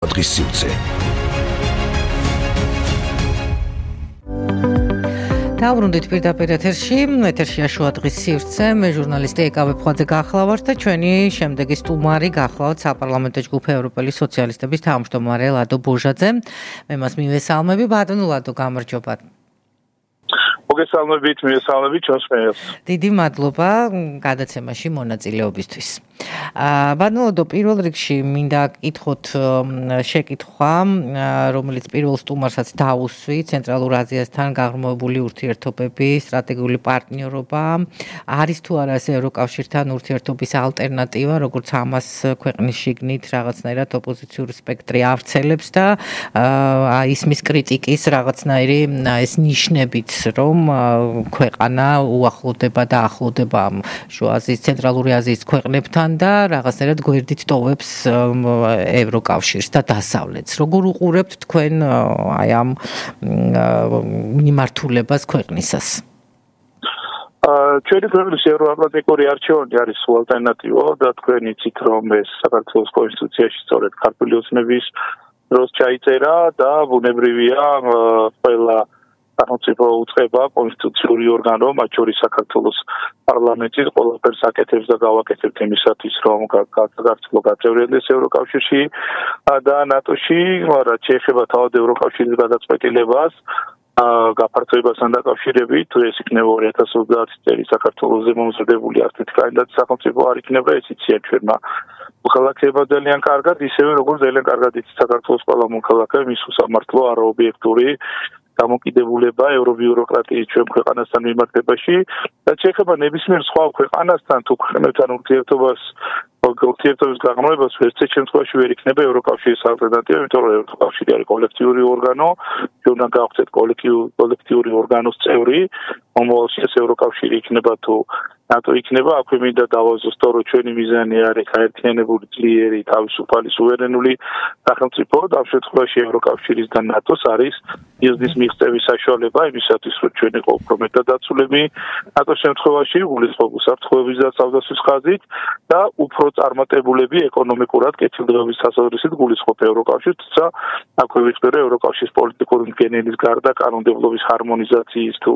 დღის სივრცე. დაუბრუნდით პირდაპირ ეთერშია შუა დღის სივრცე, მე ჟურნალისტი ეკავე ფხაძე გახლავართ და ჩვენი შემდეგი სტუმარი გახლავთ საპარლამენტო ჯგუფ ევროპელი სოციალისტების თავმჯდომარე ლადო ბუჟაძე. მე მას მივესალმები, ბატონო ლადო, გამარჯობა. მოგესალმებით, მივესალმებით ჩვენს მეელს. დიდი მადლობა გადაცემაში მონაწილეობისთვის. ბატონო ლადო, პირველ რიგში მინდა გკითხოთ შეკითხვა, რომელიც პირველ სტუმარსაც დაუსვი, ცენტრალურ აზიასთან გაღრმავებული ურთიერთობები, სტრატეგიული პარტნიორობა, არის თუ არა ეს ევროკავშირთან ურთიერთობის ალტერნატივა, როგორც ამას ქვეყნის შიგნით რაღაცნაირად ოპოზიციური სპექტრი ავრცელებს და ისმის კრიტიკის რაღაცნაირი ეს ნიშნებიც, რომ ქვეყანა უახლოვდება და ახლოვდება შუა აზიის, ცენტრალური აზიის ქვეყნებთან და რაღაცნაირად გვერდით ტოვებს ევროკავშირს და დასავლეთს. როგორ უყურებთ თქვენ აი ამ მიმართულებას ქვეყნისას? ჩვენი ქვეყნის ევროატლანტიკური არჩევანი არის ალტერნატივა და თქვენ იცით, რომ ეს საქართველოს კონსტიტუციაში სწორედ ქართული ოცნების დროს ჩაიწერა და ბუნებრივია ყველა სახელმწიფო უწყება კონსტიტუციური ორგანო, მათ შორის საქართველოს პარლამენტის ყველაფერს აკეთებს და გავაკეთებთ იმისათვის, რომ საქართველო გაწევრიანდეს ევროკავშირში და ნატოში, რაც შეეხება თავად ევროკავშირის გადაწყვეტილებას, გაფართოებასთან დაკავშირებით, თუ ეს იქნება 2030 წელი საქართველოზე მომზადებული არცერთი კანდიდატი სახელმწიფო არ იქნება, ეს იციან ჩვენმა მოქალაქეებმა ძალიან კარგად, ისევე როგორც ძალიან კარგად იცით საქართველოს ყველა მოქალაქე, მის უსამართლო არაობიექტური დამოკიდებულება ევრობიუროკრატიის ჩვენ ქვეყანასთან მიმართებაში და შეეხება ნებისმიერ სხვა ქვეყანასთან თუ ქვეყნებთან ურთიერთობის გაღრმავებას ერთ შემთხვევაში ვერ იქნება ევროკავშირის ალტერნატივა, იმიტომ რომ ევროკავშირი არის კოლექტიური ორგანო, ჩვენ უნდა გავხდეთ კოლექტიური ორგანოს წევრი, მომავალში ეს ევროკავშირი იქნება თუ ნატო იქნება, აქვე მინდა დავაზუსტო, რომ ჩვენი მიზანი არის გაერთიანებული, ძლიერი, თავისუფალი, სუვერენული სახელმწიფო და ამ შემთხვევაში ევროკავშირის და ნატოს არის მიზნის მიღწევის საშუალება იმისათვის, რომ ჩვენ იყო უფრო მეტად დაცულები ნატოს შემთხვევაში, გულისხმობ უსაფრთხოების და თავდაცვის ხაზით და უფრო წარმატებულები ეკონომიკურად კეთილდღეობის თასაუბრისით გულისხმობ ევროკავშირს, თუმცა აქვე ვიხდე, რომ ევროკავშირის პოლიტიკური მდგენელის გარდა კანონმდებლობის ჰარმონიზაციის თუ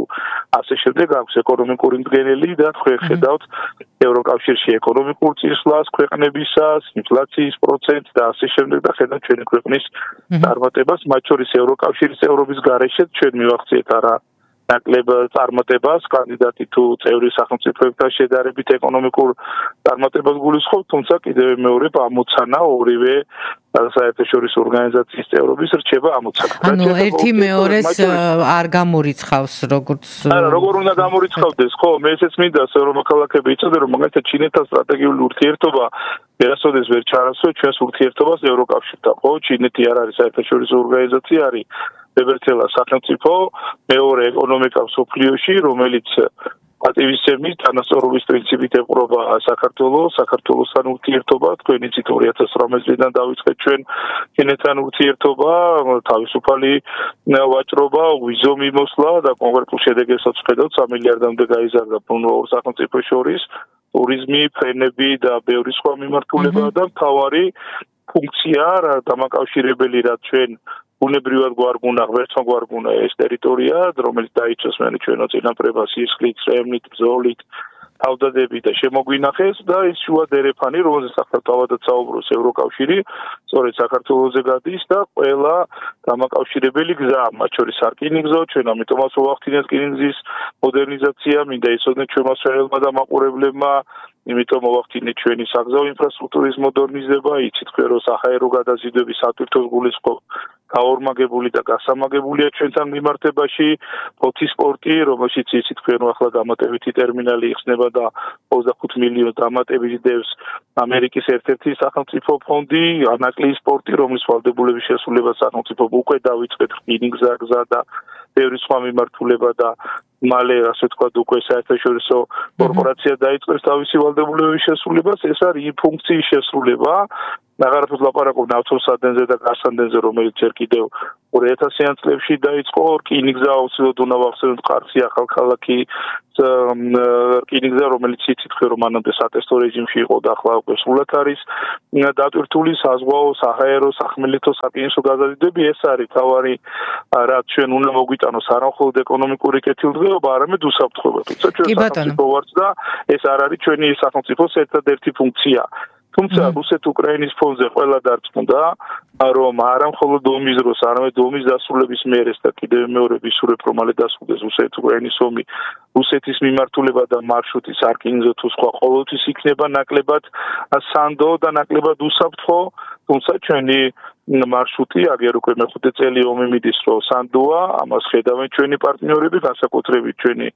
ასე შემდეგ აქვს ეკონომიკური მდგენელი და თქვენ ხედავთ ევროკავშირში ეკონომიკურ წინსვლას ქვეყნებისას, ინფლაციის პროცენტს და ასე შემდეგ და ხედავთ ჩვენი ქვეყნის წარმატებას, მათ შორის ევროკავშირის წევრობის გარეშე ჩვენ მივახციეთ არა ნაკლებ წარმატებას, კანდიდატი თუ წევრი სახელმწიფოებთან შედარებით ეკონომიკურ წარმატებას გულისხმობ, თუმცა კიდევ მეორე ამოცანა ორივე საერთაშორისო ორგანიზაციის წევრობის რჩება ამოცანა. ანუ ერთი მეორეს არ გამორიცხავს, როგორც როგორ უნდა გამორიცხავდეს, ხო, მე ესეც მინდა, რომ მოქალაქეები იცოდნენ, რომ მაგალითად ჩინეთთან სტრატეგიული ურთიერთობა ვერასოდეს ვერ ჩაანაცვლა ჩვენს ურთიერთობას ევროკავშირთან, ხო, ჩინეთი არ არის საერთაშორისო ორგანიზაცია, არის მებრძოლ სახელმწიფო, მეორე ეკონომიკა მსოფლიოში, რომელიც პატივისცემის თანასწორობის პრინციპით ეყრობა საქართველოსთან ურთიერთობა, თქვენ იცით 2018 წლიდან დავიწყეთ ჩვენ ჩინეთთან ურთიერთობა, თავისუფალი ვაჭრობა, ვიზო მიმოსვლა და კონკრეტულ შედეგებსაც ხედავთ 3 მილიარდამდე გაიზარდა ფონდ ორ სახელმწიფოს შორის, ტურიზმი, ფრენები და ბევრი სხვა მიმართულება და მთავარი ფუნქცია დამაკავშირებელი რაც ჩვენ ბუნებრივად გვარგუნა, ღმერთმა გვარგუნა ეს ტერიტორია, რომელიც დაიცვას მერე ჩვენო წინაპრებას სისხლით, წვემით, ბრძოლით, თავდადებით და შემოგვინახეს და ეს შუა დერეფანი, რომელზეც ახლა თავადაც საუბრობს ევროკავშირი, სწორედ საქართველოზე გადის და ყველა დამაკავშირებელი გზა, მათ შორის სარკინიგზო, ჩვენ ამიტომაც ვახდინეთ რკინიგზის მოდერნიზაცია, მინდა იცოდნენ ჩვენმა მსვენელმა დამაყურებლებმა, იმიტომ მოვახდინეთ ჩვენი საგზაო ინფრასტრუქტურის მოდერნიზება, იცით თქვენ რომ საჰაერო გადაზიდვების სატვირთოს გულისხმობ გაორმაგებული და გასამაგებულია ჩვენთან მიმართებაში, ფოთის პორტი, რომელშიც იცით თქვენ რომ ახლა დამატებითი ტერმინალი იხსნება და 25 მილიონი დამატებით დევს ამერიკის ერთ-ერთი სახელმწიფო ფონდი, ანაკლიის პორტი, რომლის ვალდებულების შესრულებას სახელმწიფო უკვე დავიწყეთ რკინიგზა და ბევრი სხვა მიმართულება და მალე ასე ვთქვათ უკვე საერთაშორისო კორპორაცია დაიწყებს თავისი ვალდებულების შესრულებას, ეს არის იმ ფუნქციის შესრულება, აღარაფერს ლაპარაკობ ნავთობსადენზე და გასანდენზე, რომელიც ჯერ კიდევ 2000-იან წლებში დაიწყო, რკინიგზა აუცილებლად უნდა ვახსენოთ ყარსი ახალქალაქი რკინიგზა, რომელიც იცით რომ მანამდე სატესტო რეჟიმში იყო და ახლა უკვე სრულად არის დატვირთული საზღვაო, საჰაერო, სახმელეთო, სარკინიგზო გაზრდები. ეს არის თავარი რაც ჩვენ უნდა მოგვიტანოს არა მხოლოდ ეკონომიკური კეთილდღეობა, არამედ უსაფრთხოება. თუმცა ჩვენ სახელმწიფო ვართ და ეს არ არის ჩვენი სახელმწიფოს ერთადერთი ფუნქცია. თუმცა რუსეთ-უკრაინის ფონზე ყველა დარწმუნდა, რომ არა მხოლოდ ომის დროს, არამედ ომის დასრულების მერე და კიდევ მეორე ვისურვებ რომ მალე დასრულდეს რუსეთ-უკრაინის ომი, რუსეთის მიმართულება და მარშრუტი სარკინიგზო თუ სხვა ყოველთვის იქნება ნაკლებად სანდო და ნაკლებად უსაფრთხო, თუმცა ჩვენი მარშრუტი აგერ უკვე მეხუთე წელი ომი მიდის რომ სანდოა, ამას ხედავენ ჩვენი პარტნიორები, განსაკუთრებით ჩვენი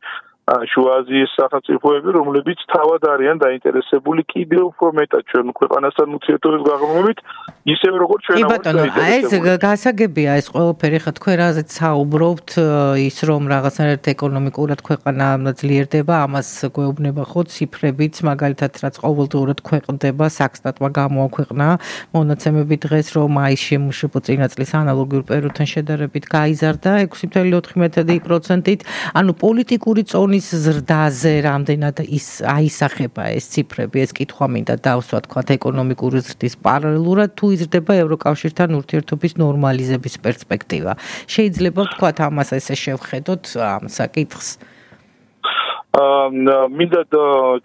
შუა აზიის სახელმწიფოები, რომლებიც თავად არიან დაინტერესებული კიდევ უფრო მეტად ჩვენ ქვეყანასთან ურთიერთობის გაღრმავებით, ისევე როგორც ჩვენ ვართ დაინტერესებული. ეს გასაგებია ეს ყველაფერი, ხა თქვენ რაზეც საუბრობთ, ის რომ რაღაცნაირად ეკონომიკურად ქვეყანა ძლიერდება, ამას გვეუბნება ხო ციფრებიც, მაგალითად რაც ყოველდღურად ქვეყნდება, საქსტატმა გამოაქვეყნა მონაცემები დღეს, რომ მაისში შემუშავება წინა წლის ანალოგიურ პერიოდთან შედარებით გაიზარდა 6.4%-ით, ანუ პოლიტიკური წონის ზრდაზე რამდენად აისახება ეს ციფრები, ეს კითხვა მინდა დავსვა თქვა ეკონომიკური ზრდის პარალელურად თუ იზრდება ევროკავშირთან ურთიერთობის ნორმალიზების პერსპექტივა. შეიძლება თქვა ამას ესე შევხედოთ ამ საკითხს. მინდა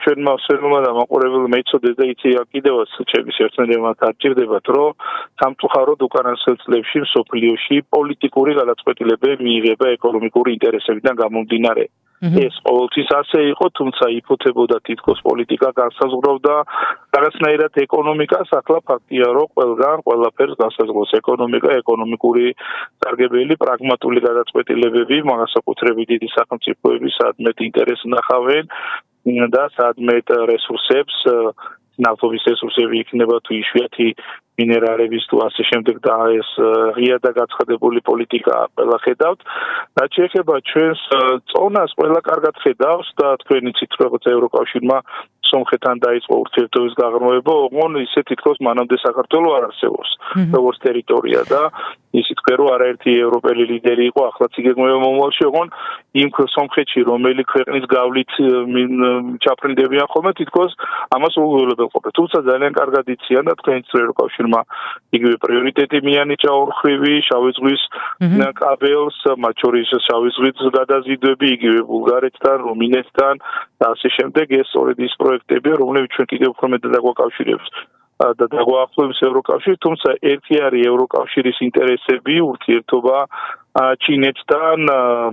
ჩვენმა სერმმა და მაყურებელმა იცოდეს და იცი კიდევაც ჩემს ერთმანეთს არჩევდებათ, რომ სამწუხაროდ უკანასკნელ წლებში მსოფლიოში პოლიტიკური გადაწყვეტილებები მიიღება ეკონომიკური ინტერესებიდან გამომდინარე. ეს ყოველთვის ასე იყო, თუმცა იფოთებოდა თითქოს პოლიტიკა განსაზღვრავდა რაღაცნაირად ეკონომიკას, ახლა ფაქტია, რომ ყველაფერს განსაზღვრავს ეკონომიკა, ეკონომიკური სარგებელი, პრაგმატული გადაწყვეტილებები, განსაკუთრებით დიდი სახელმწიფოები სადმეტ ინტერესს ნახავენ და სადმეტ რესურსებს, ნავთობის რესურსები იქნება თუ იშვიათი მინერალების თუ ასე შემდეგ და ეს ღია და გაცხადებული პოლიტიკა ყველა ხედავთ. რაც შეეხება ჩვენს წონას, ყველა კარგად ხედავს და თქვენ იცით, როგორც ევროკავშირმა სომხეთთან დაიწყო ურთიერთობის გაღრმავება, ოღონდ ისე თითქოს მანამდე საქართველო არ არსებობს, როგორც ტერიტორია და ისიც თქვენ რომ არაერთი ევროპელი ლიდერი იყო, ახლაც იგეგმება მომავალში, ოღონდ იმ სომხეთში, რომელი ქვეყნის გავლით ჩაფრინდებიან ხოლმე, თითქოს ამას უღულებელ ყოფილ. თუმცა ძალიან კარგად იციან და თქვენ ევროკავშირმა იგივე პრიორიტეტი მიანიჭა ორხვრივი შავი ზღვის კაბელს, მათ შორის შავი ზღვის გადაზიდვები, იგივე ბულგარეთთან, რუმინეთთან და ასე შემდეგ. ეს სწორედ ის პროექტებია, რომლებიც ჩვენ კიდევ უფრო მეტად დაგვაკავშირებს და დაგვაახლოებს ევროკავშირს, თუმცა ერთი არის ევროკავშირის ინტერესები, ურთიერთობა ჩინეთთან,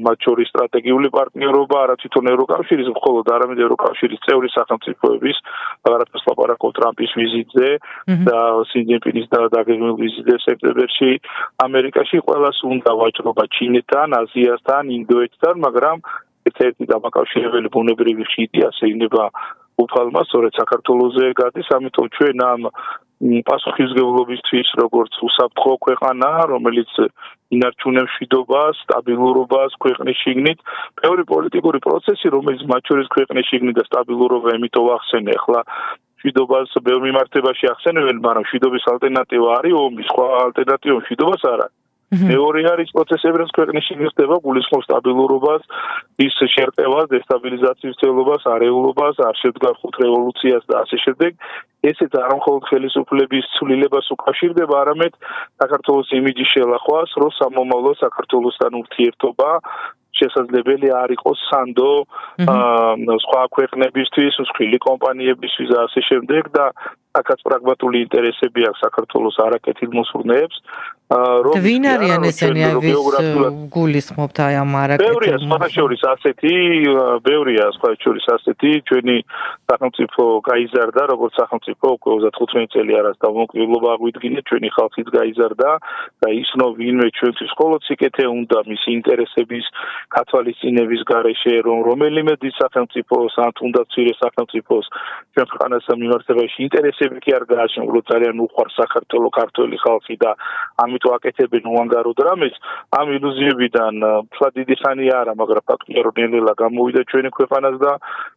მათ შორის სტრატეგიული პარტნიორობა, არა თვითონ ევროკავშირის, მხოლოდ არამედ ევროკავშირის წევრი სახელმწიფოების, აღარაფერს ლაპარაკობ ტრამპის ვიზიტზე და სინჯინპინის დაგეგმილ ვიზიტზე სექტემბერში ამერიკაში, ყველას უნდა ვაჭრობა ჩინეთთან, აზიასთან, ინდოეთთან, მაგრამ ერთ-ერთი დამაკავშირებელი ბუნებრივი ხიდი ასე იქნება უფალმა, სწორედ საქართველოზე გადის, ამიტომ ჩვენ ამ პასუხისმგებლობისთვის, როგორც უსაფრთხო ქვეყანა, რომელიც ინარჩუნებს მშვიდობას, სტაბილურობას ქვეყნის შიგნით, ბევრი პოლიტიკური პროცესი, რომელიც მათ შორის ქვეყნის შიგნით და სტაბილურობა ემიტო ახსენე, ახლა მშვიდობას ბევრ მიმართებაში ახსენებენ, მაგრამ მშვიდობის ალტერნატივა არის ომი, სხვა ალტერნატივა მშვიდობას არ არის. მეორე არის პროცესები, რაც ქვეყნის შიგნით ხდება, გულისხმობს სტაბილურობას, ის შერყევას, დესტაბილიზაციის ცდილობას, არეულობას, არ შედგარ ხუთ რევოლუციას და ასე შემდეგ. ესეც არ მხოლოდ ხელისუფლების ცვლილებას უკავშირდება, არამედ საქართველოს იმიჯის შელახვას, რომ სამომავლო საქართველოსთან ურთიერთობა შესაძლებელი არ იყოს სანდო სხვა ქვეყნებისთვის, მსხვილი კომპანიებისთვის და ასე შემდეგ და აქაც პრაგმატული ინტერესები აქვს საქართველოს არაკეთილ მოსურნეებს. ვინ არიან ესენი, ვის გულისხმობთ აი ამ არაკეთილ? ბევრია სხვადასხვა ასეთი, ბევრია სხვადასხვა ასეთი, ჩვენი სახელმწიფო გაიზარდა, როგორც სახელმწიფო უკვე 35 წელი არის დამოუკიდებლობა აღვიდგინეთ, ჩვენი ხალხიც გაიზარდა და ისნო ვინმე ჩვენთვის მხოლოდ სიკეთე უნდა მისი ინტერესების გათვალისწინების გარეშე, რომელიმე დიდ სახელმწიფოს ან თუნდაც მცირე სახელმწიფოს ჩვენ ქვეყანასთან მიმართებაში ინტერესი ინტერესები კი არ გააჩნია, უბრალოდ ძალიან უყვარს საქართველოს ქართველი ხალხი და ამიტომ აკეთებენ უანგაროდ რამეს, ამ ილუზიებიდან თქვა დიდი ხანი არა, მაგრამ ფაქტია რომ ნელ-ნელა გამოვიდა ჩვენი ქვეყანაც და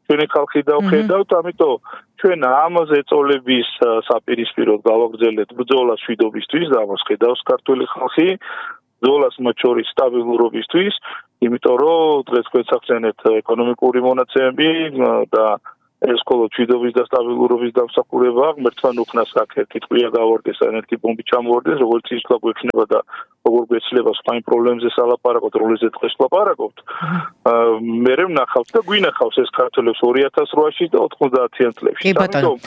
ჩვენი ხალხი დავხედავთ, ამიტომ ჩვენ ამაზე წოლების საპირისპიროდ გავაგრძელეთ ბრძოლას მშვიდობისთვის და ამას ხედავს ქართველი ხალხი, ბრძოლას მათ შორის სტაბილურობისთვის, იმიტომ რომ დღეს გვეცახცენეთ ეკონომიკური მონაცემები და ეს მხოლოდ მშვიდობის და სტაბილურობის დამსახურება, ღმერთთან უხნას აქ კითხვია გავარდეს, ერთი ბომბი ჩამოვარდეს, როგორც ის თქვა გვექნება და როგორ გვეცლება სხვა იმ პრობლემებზე სალაპარაკოთ, როლეზე დღეს ლაპარაკობთ. მე ვნახავთ და გვინახავს ეს ქართველებს 2008-ში და 90-იან წლებში. ამიტომ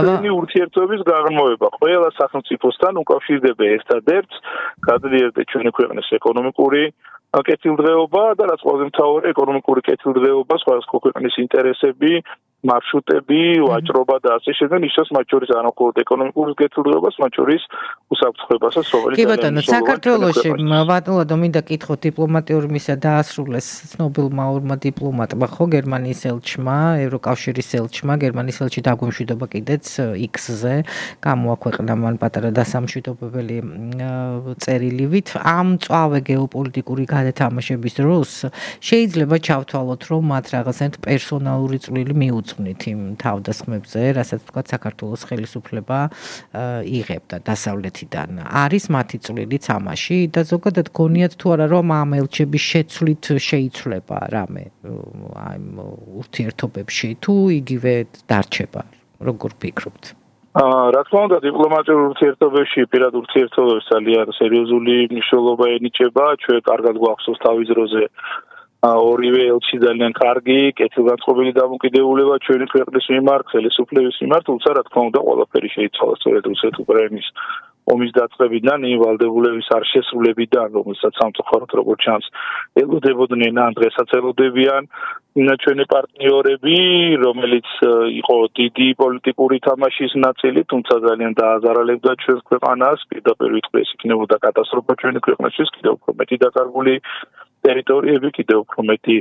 ჩვენი ურთიერთობების გაღრმავება ყველა სახელმწიფოსთან უკავშირდება ერთადერთს, გადაიერდეთ ჩვენი ქვეყნის ეკონომიკური კეთილდღეობა და რაც ყველაზე მთავარი ეკონომიკური კეთილდღეობა, სხვადასხვა ქვეყნის ინტერესები, მარშრუტები, ვაჭრობა და ასე შემდეგ, ისოს მათ შორის არ მხოლოდ ეკონომიკური კეთილდღეობას, მათ შორის უსაფრთხოებასაც, რომელიც კი ბატონო, საქართველოში ბატონო მინდა კითხოთ დიპლომატიური მისია დაასრულეს ცნობილმა ორმა დიპლომატმა, ხო, გერმანიის ელჩმა, ევროკავშირის ელჩმა, გერმანიის ელჩი დაგვიმშვიდობა კიდეც X-ზე, გამოაქვეყნა მან პატარა დასამშვიდობებელი წერილივით. ამ მწვავე გეოპოლიტიკური გადათამაშების დროს შეიძლება ჩავთვალოთ, რომ მათ რაღაცნაირად პერსონალური წვლილი მიუძღვნით იმ თავდასხმებზე, რასაც თქვა საქართველოს ხელისუფლება იღებდა დასავლეთიდან. არის მათი წვლილიც ამაში და ზოგადად გონიათ თუ არა, რომ ამ ელჩების შეცვლით შეიცვლება რამე აი ურთიერთობებში თუ იგივე დარჩება, როგორ ფიქრობთ? რა თქმა უნდა, დიპლომატიურ ურთიერთობებში, პირად ურთიერთობებში ძალიან სერიოზული მნიშვნელობა ენიჭება, ჩვენ კარგად გვახსოვს თავის დროზე ორივე ელჩი ძალიან კარგი, კეთილგანწყობილი დამოკიდებულება ჩვენი ქვეყნის მიმართ, ხელისუფლების მიმართ, თუმცა რა თქმა უნდა, ყველაფერი შეიცვალა სწორედ რუსეთ-უკრაინის ომის დაწყებიდან, იმ ვალდებულების არ შესრულებიდან, რომელსაც სამწუხაროდ როგორც ჩანს, ელოდებოდნენ ან დღესაც ელოდებიან ჩვენი პარტნიორები, რომელიც იყო დიდი პოლიტიკური თამაშის ნაწილი, თუმცა ძალიან დააზარალებდა ჩვენს ქვეყანას, პირდაპირ ვიტყვი, ეს იქნებოდა კატასტროფა ჩვენი ქვეყნისთვის, კიდევ უფრო მეტი დაკარგული ტერიტორიები, კიდევ უფრო მეტი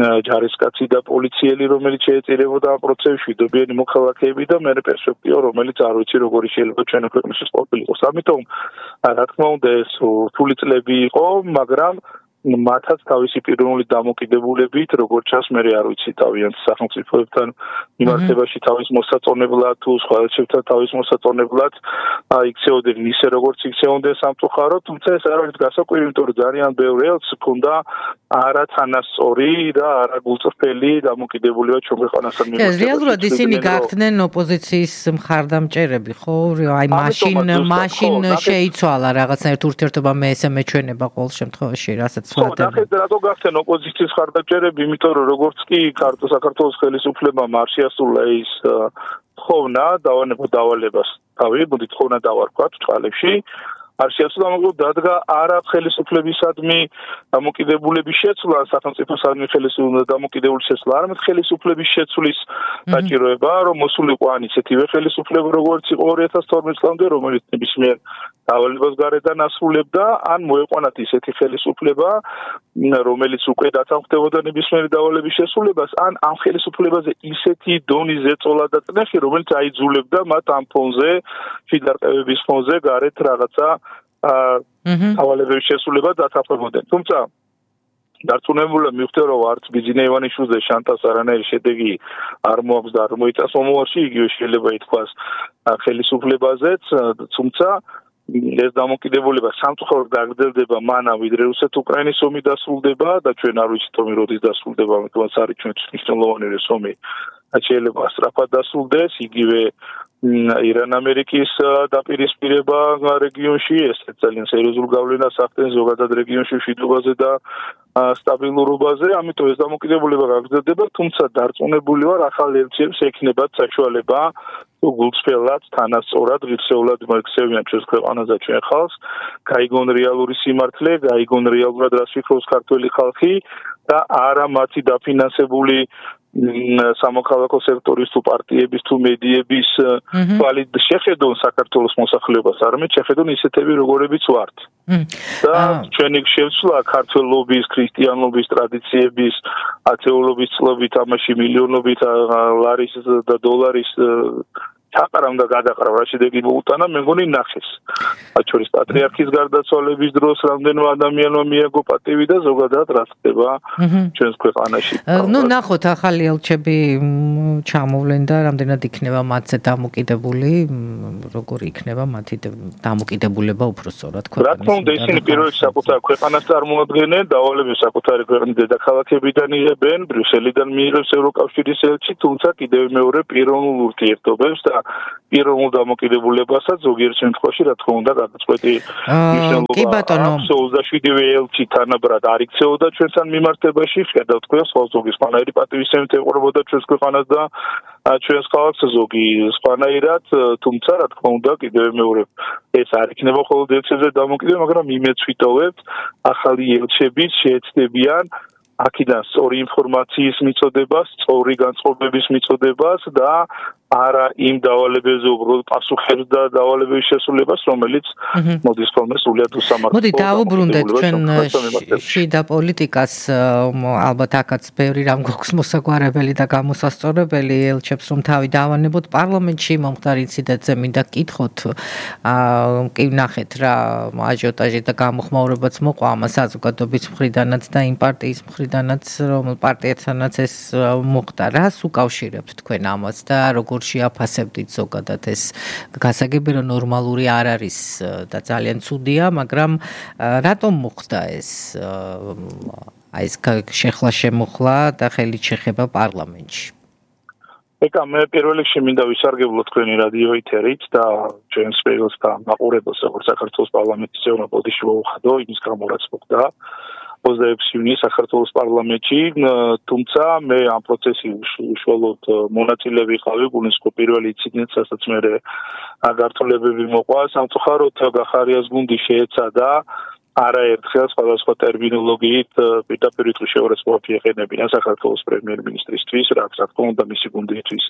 ჯარისკაცი და პოლიციელი, რომელიც შეეწირებოდა ამ პროცესში, მშვიდობიანი მოქალაქეები და მე პერსპექტივა, რომელიც არ ვიცი როგორი შეიძლება ჩვენი ქვეყნისთვის ყოფილიყოს. ამიტომ, რა თქმა უნდა, ეს რთული წლები იყო, მაგრამ მათაც თავისი პიროვნული დამოკიდებულებით, როგორც ჩანს, მე არ ვიცი თავიანთ სახელმწიფოებთან მიმართებაში თავის მოსაწონებლად თუ სხვა ელჩებთან თავის მოსაწონებლად იქცეოდნენ ისე როგორც იქცეოდნენ სამწუხაროდ, თუმცა ეს არ არის გასაკვირი, იმიტომ რომ ძალიან ბევრი ელჩს ჰქონდა არათანასწორი და არაგულწრფელი დამოკიდებულება ჩვენ ქვეყანასთან მიმართებაში. რეალურად ისინი გახდნენ ოპოზიციის მხარდამჭერები, ხო? აი მაშინ შეიცვალა რაღაცნაირად ურთიერთობა მე ესე მეჩვენება ყოველ შემთხვევაში, რასაც ხო, რატო გახდნენ ოპოზიციის მხარდამჭერები, იმიტომ რომ როგორც კი საქართველოს ხელისუფლებამ არ შეასრულა ის თხოვნა დავალებას თავი, მოდი თხოვნა დავარქვათ წყალებში, არ შეასრულა, მაგრამ დადგა არა ხელისუფლებისადმი დამოკიდებულების შეცვლა, სახელმწიფოსადმი ხელისუფლების დამოკიდებულების შეცვლა, არამედ ხელისუფლების შეცვლის საჭიროება, რომ მოსულიყო ან ისეთივე ხელისუფლება, როგორც იყო 2012 წლამდე, რომელიც ნებისმიერ დავალებას გარედან ასრულებდა, ან მოეყვანათ ისეთი ხელისუფლება, რომელიც უკვე დათანხმდებოდა ნებისმიერი დავალების შესრულებას, ან ამ ხელისუფლებაზე ისეთი დონის ზეწოლა და წნეხი, რომელიც აიძულებდა მათ ამ ფონზე, შიდარყევების ფონზე გარეთ რაღაცა დავალების შესრულება დათანხმებოდნენ. თუმცა დარწმუნებულად მივხვდი, რომ არც ბიძინა ივანიშვილზე შანტას არანაირი შედეგი არ მოაქვს და არ მოიწას მომავალში, იგივე შეიძლება ითქვას ხელისუფლებაზეც, თუმცა ეს დამოკიდებულება სამწუხაროდ გაგრძელდება მანამ, ვიდრე რუსეთ-უკრაინის ომი დასრულდება და ჩვენ არ ვიცით ომი როდის დასრულდება, ამიტომ არის ჩვენთვის მნიშვნელოვანი ეს ომი. შეიძლება სწრაფად დასრულდეს, იგივე ირან-ამერიკის დაპირისპირება რეგიონში, ეს ძალიან სერიოზულ გავლენას ახდენს ზოგადად რეგიონში მშვიდობაზე და სტაბილურობაზე, ამიტომ ეს დამოკიდებულება გაგრძელდება, თუმცა დარწმუნებული ვარ, ახალ ელჩებს ექნებათ საშუალება გულწრფელად, თანასწორად, ღირსეულად მოექცევიან ჩვენს ქვეყანას და ჩვენ ხალხს, გაიგონ რეალური სიმართლე, გაიგონ რეალურად რას ფიქრობს ქართველი ხალხი და არა მათი დაფინანსებული სამოქალაქო სექტორის თუ პარტიების თუ მედიების თვალით შეხედონ საქართველოს მოსახლეობას, არამედ შეხედონ ისეთები, როგორებიც ვართ. და ჩვენი შევცვლა ქართველობის, ქრისტიანობის, ტრადიციების, ათეულობის წლობით, ამაში მილიონობით ლარის და დოლარის ჩაყარავდა გადაყრავ რა შედეგი მოუტანა მე მგონი ნახეს მათ შორის პატრიარქის გარდაცვალების დროს რამდენო ადამიანმა მიაგო პატივი და ზოგადად რა ხდება ჩვენს ქვეყანაში ნუ ნახოთ ახალი ელჩები ჩამოვლენ და რამდენად იქნება მათზე დამოკიდებული როგორი იქნება მათი დამოკიდებულება უფრო სწორად ქვეყანას რა თქმა უნდა ისინი პირველ საკუთარ ქვეყანას წარმოადგენენ დავალებებს საკუთარი ქვეყნის დედაქალაქებიდან იღებენ ბრიუსელიდან მიიღებს ევროკავშირის ელჩი თუმცა კიდევ მეორე პიროვნულ ურთიერთობებს და პიროვნულ დამოკიდებულებასაც ზოგიერთ შემთხვევაში რა თქმა უნდა გადაწყვეტი მნიშვნელობა აქვს 27-ვე ელჩი თანაბრად არ იქცეოდა ჩვენთან მიმართებაში ხედავთ თქვენ ზოგი სხვანაირი პატივისცემით ეყურებოდა ჩვენს ქვეყანას და ჩვენს ქალაქს ზოგი სხვანაირად თუმცა რა თქმა უნდა კიდევ მეორე ეს არ იქნება მხოლოდ ელჩებზე დამოკიდებული მაგრამ იმეც ვიტოვებთ ახალი ელჩები შეეცდებიან აქედან სწორი ინფორმაციის მიწოდებას, სწორი განწყობების მიწოდებას და არა იმ დავალებებზე უბრალოდ პასუხებს და დავალებების შესრულებას, რომელიც მოდის ხოლმე სულიად უსამართლო. მოდი დავუბრუნდეთ ჩვენ შიდა პოლიტიკას, ალბათ აქაც ბევრი რამ გვაქვს მოსაგვარებელი და გამოსასწორებელი ელჩებს რომ თავი დავანებოთ პარლამენტში მომხდარ ინციდენტზე მინდა გკითხოთ. კი ნახეთ რა აჟიოტაჟი და გამოხმაურებაც მოყვა ამას საზოგადოების მხრიდანაც და იმ პარტიის მხრიდანაც რომ პარტიებთანაც ეს მოხდა. რას უკავშირებთ თქვენ ამას და როგორ შეაფასებდით ზოგადად ეს გასაგები რომ ნორმალური არ არის და ძალიან ცუდია, მაგრამ რატომ მოხდა ეს აი ეს შეხლა შემოხლა და ხელით შეხება პარლამენტში? ეკა მე პირველ რიგში მინდა ვისარგებლო თქვენი რადიო ეთერით და ჩვენს პირს და მაყურებელს როგორც საქართველოს პარლამენტის წევრმა ბოდიში მოუხადო იმის გამო რაც მოხდა 26 ივნისს საქართველოს პარლამენტში, თუმცა მე ამ პროცესში უშუალოდ მონაწილე ვიყავი, გულისხმობ პირველი ინციდენტს, რასაც მე გართულებები მოყვა, სამწუხაროდ გახარიას გუნდი შეეცადა არაერთხელ სხვადასხვა ტერმინოლოგიით პირდაპირ შეურაცხყოფი ეყენებინა საქართველოს პრემიერ-მინისტრისთვის, რაც რა თქმა უნდა მისი გუნდისთვის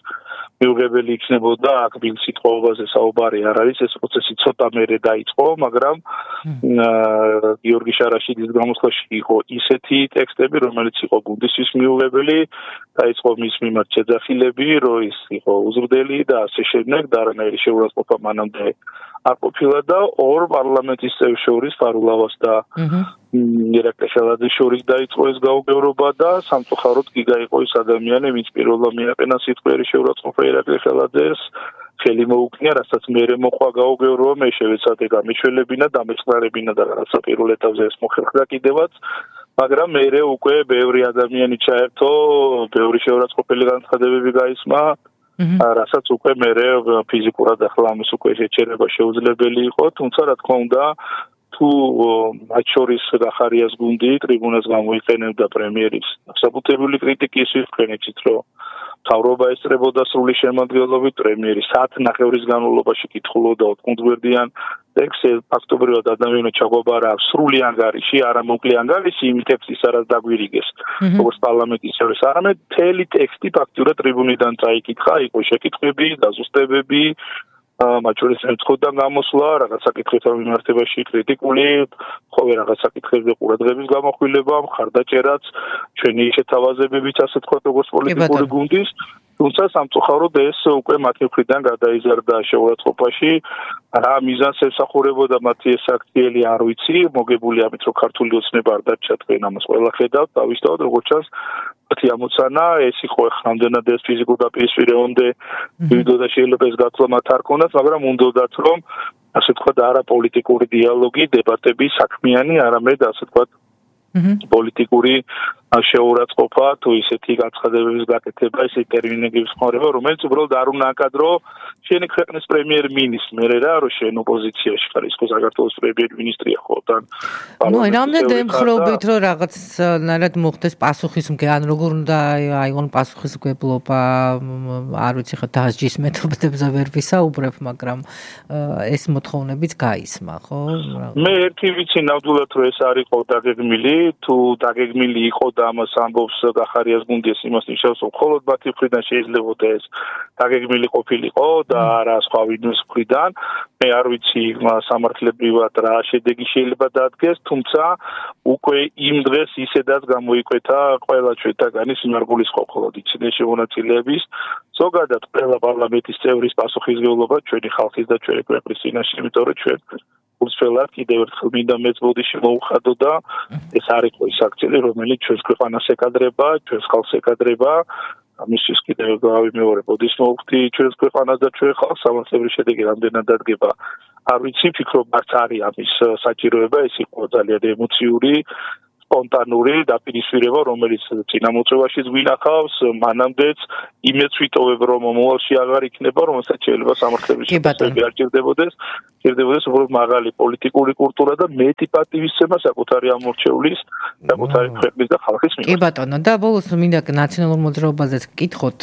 მიუღებელი იქნებოდა, აქ ბილ სიტყვაზე საუბარი არ არის, ეს პროცესი ცოტა მერე დაიწყო, მაგრამ გიორგი შარაშიძის გამოსვლაში იყო ისეთი ტექსტები, რომელიც იყო გუნდისთვის მიუღებელი, დაიწყო მის მიმართ შეძახილები, რომ ის იყო უზრდელი და ასე შემდეგ, და არანაირი შეურაცხყოფა მანამდე არ ყოფილა და ორ პარლამენტის წევრს შორის ფარულავას და ირაკლი ხელაძის შორის დაიწყო ეს გაუგებრობა და სამწუხაროდ გიგა იყო ის ადამიანი, ვინც პირველად მიაყენა სიტყვიერი შეურაცხყოფა ირაკლი ხელაძეს, ხელი მოუკნია, რასაც მერე მოყვა გაუგებრობა, მე შევეცადე გამიშველებინა, დამეწყნარებინა და რაღაცა პირველ ეტაპზე ეს მოხერხდა კიდევაც, მაგრამ მერე უკვე ბევრი ადამიანი ჩაერთო, ბევრი შეურაცხყოფელი განცხადებები გაისმა რასაც უკვე მერე ფიზიკურად ახლა ამის უკვე შეჩერება შეუძლებელი იყო, თუმცა რა თქმა უნდა თუ მათ შორის გახარიას გუნდი ტრიბუნას გამოიყენებდა პრემიერის საბუთებული კრიტიკის ვიხსენეთ, რომ მთავრობა ესწრებოდა სრული შემადგენლობით პრემიერი საათნახევრის განმავლობაში კითხულობდა 4 გვერდიან ტექსტს, ფაქტობრივად ადამიანმა ჩაგვაბარა სრული ანგარიში, არა მოკლე ანგარიში, იმ ტექსტის არა დაგვირიგეს, როგორც პარლამენტის წევრს, არამედ მთელი ტექსტი ფაქტურად ტრიბუნიდან წაიკითხა, იყო შეკითხვები, დაზუსტებები, მათ შორის მეწყოდან გამოსვლა, რაღაც საკითხებთან მიმართებაში კრიტიკული, ხოლმე რაღაც საკითხებზე ყურადღების გამოხვილება, მხარდაჭერაც, ჩვენი შეთავაზებებიც, ასე თქვა, როგორც პოლიტიკური გუნდის, თუმცა სამწუხაროდ ეს უკვე მათი მხრიდან გადაიზარდა შეურაცხყოფაში, რა მიზანს ემსახურებოდა მათი ეს აქციელი არ ვიცი, მოგებული ამით რომ ქართული ოცნება არ დარჩა თქვენ ამას ყველა ხედავთ, დავისწავლოთ როგორც ჩანს მათი ამოცანა ეს იყო ხამდენად ეს ფიზიკურ დაპირისპირებამდე ვიდეო და შეიძლება ეს გაცვლა მათ არ ქონდათ, მაგრამ უნდათ რომ ასე თქვა არა პოლიტიკური დიალოგი, დებატები საქმიანი, არამედ ასე თქვა პოლიტიკური შეურაცხყოფა თუ ისეთი განცხადებების გაკეთება, ისეთი ტერმინების ხმარება, რომელიც უბრალოდ არ უნდა აკადრო შენი ქვეყნის პრემიერ-მინისტრს, მე რა რომ შენ ოპოზიციაში ხარ, ის ხო საქართველოს პრემიერ-მინისტრია ხო თან. ნუ რამდენად ემხრობით რომ რაღაცნაირად მოხდეს პასუხისმგე, ან როგორ უნდა აიღონ პასუხისმგებლობა, არ ვიცი ხა დასჯის მეთოდებზე ვერ ვისაუბრებ, მაგრამ ეს მოთხოვნებიც გაისმა, ხო? მე ერთი ვიცი ნამდვილად რომ ეს არ იყო დაგეგმილი, თუ დაგეგმილი იყო და ამას ამბობს გახარიას გუნდიას იმას ნიშნავს, რომ მხოლოდ მათი მხრიდან შეიძლებოდა ეს დაგეგმილი ყოფილიყო და არა სხვა ვინმეს მხრიდან. მე არ ვიცი სამართლებრივად რა შედეგი შეიძლება დადგეს, თუმცა უკვე იმ დღეს ისედაც გამოიკვეთა ყველა ჩვენთაგანის მარგულის ხოლოდ იცინეს შემონაწილეების ზოგადად ყველა პარლამენტის წევრის პასუხისმგებლობა ჩვენი ხალხის და ჩვენი ქვეყნის წინაშე, იმიტომ რომ ჩვენ უცვლელად კიდევ ერთხელ მინდა მეც ბოდიში მოუხადო და ეს არ იყო ის აქცენტი, რომელიც ჩვენს ქვეყანას ეკადრება, ჩვენს ხალხს ეკადრება. ამისთვის კიდევ გავიმეორე ბოდიშს მოვხდი ჩვენს ქვეყანას და ჩვენ ხალხს სამართლებრივი შედეგი რამდენად დადგება. არ ვიცი, ფიქრობ არც არის ამის საჭიროება, ეს იყო ძალიან ემოციური სპონტანური დაპირისპირება, რომელიც წინამოწვევაშიც გვინახავს, მანამდეც იმედს ვიტოვებ, რომ მომავალში აღარ იქნება, რომელსაც შეიძლება სამართლებრივი შედეგი არ ჭირდებოდეს, უბრალოდ მაღალი პოლიტიკური კულტურა და მეტი პატივისცემა საკუთარი ამორჩევლის, საკუთარი ქვეყნის და ხალხის მიმართ. კი ბატონო, და ბოლოს მინდა ნაციონალურ მოძრაობაზეც გკითხოთ,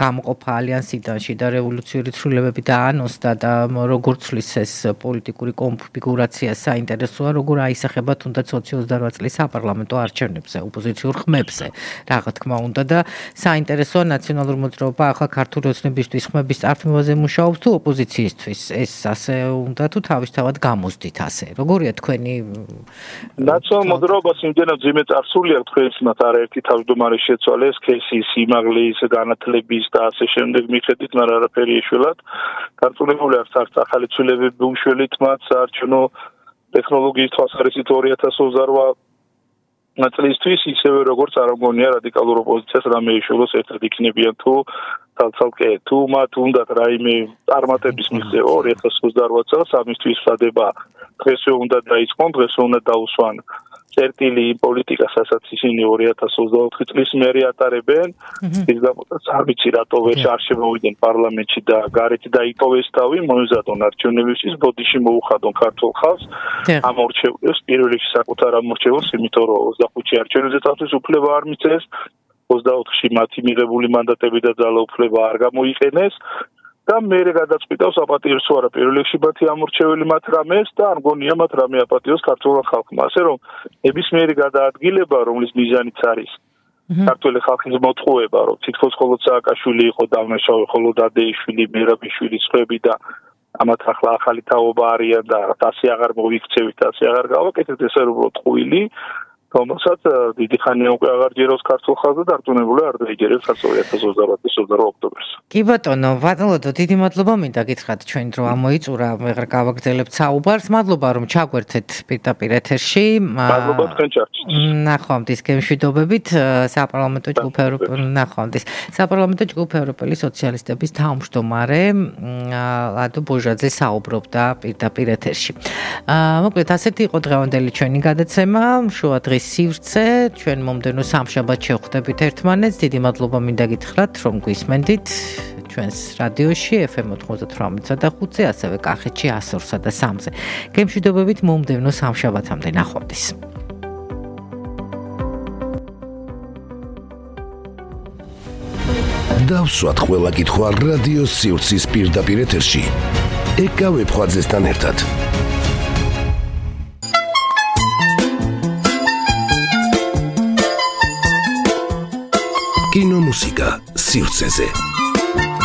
გამოყოფა ალიანსიდან შიდა რევოლუციური ცვლილებები დაანოსდა და როგორ ცვლის ეს პოლიტიკური კონფიგურაცია საინტერესოა, როგორ აისახება თუნდაც 28 წლის საპარლამენტო არჩევნებზე, ოპოზიციურ ხმებზე, რა თქმა უნდა და საინტერესოა ნაციონალურ მოძრაობა ახლა ქართული ოცნებისთვის ხმების წარქმევაზე მუშაობს თუ ოპოზიციისთვის ეს ასე უნდა თუ თავისთავად გამოსდით ასე. როგორია თქვენი ნაციონალურ მოძრაობას იმდენად ძიმე წარსული აქვს თქვენს მათ არაერთი თავმჯდომარე შეცვალეს ქესის, იმაღლის, განათლების და ასე შემდეგ მიხედვით, მაგრამ არაფერი ეშველად. გაწოლებული აქვს არც ახალი ცვლილებები უშველით მათ საარჩევნო ტექნოლოგიის თვალსაზრისით 2028 წლისთვის ისევე როგორც არ მგონია რადიკალურ ოპოზიციას რამე ეშველოს ერთად იქნებიან თუ თალცალკე თუ მათ უნდათ რაიმე წარმატების მიღწევა 2028 წელს ამისთვის ვსადება დღესვე უნდა დაიწყონ, დღესვე უნდა დაუსვან წერტილი პოლიტიკასაც ისინი 2024 წლის მერე ატარებენ. ის გამოდაც არ ვიცი რატო ვერ არ შემოვიდნენ პარლამენტში და გარეთ დაიტოვეს თავი, მოიზადონ არჩევნებისთვის, ბოდიში მოუხადონ ქართულ ხალხს. ამორჩეულებს პირველ რიგში საკუთარ ამორჩეულს, იმიტომ რომ 25-ში არჩევნებზე თავის უფლება არ მიწეს, 24-ში მათი მიღებული მანდატები და ძალაუფლება არ გამოიყენეს. და მე გადაწყვიტავს აპატიოს არა პირველ რიგში მათი ამორჩეველი მათ რამეს და არ მგონია მათ რამე აპატიოს ქართულ ხალხმა. ასე რომ ნებისმიერი გადაადგილება, რომლის მიზანიც არის ქართული ხალხის მოტყუება, რომ თითქოს მხოლოდ სააკაშვილი იყო დამნაშავე, მხოლოდ ადეიშვილი, მერაბიშვილის ხვები და ამათ ახლა ახალი თაობა არიან და ასე აღარ მოვიქცევით, ასე აღარ გავაკეთეთ, ეს არის უბრალოდ ტყუილი. რომელსაც დიდი ხანია უკვე აღარ ჯეროს ქართულ ხალხს და დარწმუნებული არ დაიჯერებს 2028 ოქტომბერს. კი ბატონო, ბატონო, დიდი მადლობა მინდა გითხრათ ჩვენ დრო ამოიწურა, მეგრ გავაგრძელებთ საუბარს. მადლობა რომ ჩაგვერთეთ პირდაპირ ეთერში. მადლობა თქვენ ჩარჩით. ნახვამდის გემშვიდობებით საპარლამენტო ჯგუფ ნახვამდის საპარლამენტო ჯგუფ ევროპელი სოციალისტების თავმჯდომარე ლადო ბოჟაძე საუბრობდა პირდაპირ ეთერში. მოკლედ ასეთი იყო დღევანდელი ჩვენი გადაცემა, შუა დღის სივრცე, ჩვენ მომდევნო სამშაბათს შევხვდებით ერთმანეთს. დიდი მადლობა მინდა გითხრათ, რომ გვისმენდით ჩვენს რადიოში FM 98.5-ზე, ასევე კახეთში 102-სა და 3-ზე. გემშვიდობებით მომდევნო სამშაბათამდე, ნახვამდის. დავსვათ ყველა კითხვა რადიო სივრცის პირდაპირ ეთერში. ეკავებ ხვაძესთან ერთად. კინომუსიკა სივრცეზე.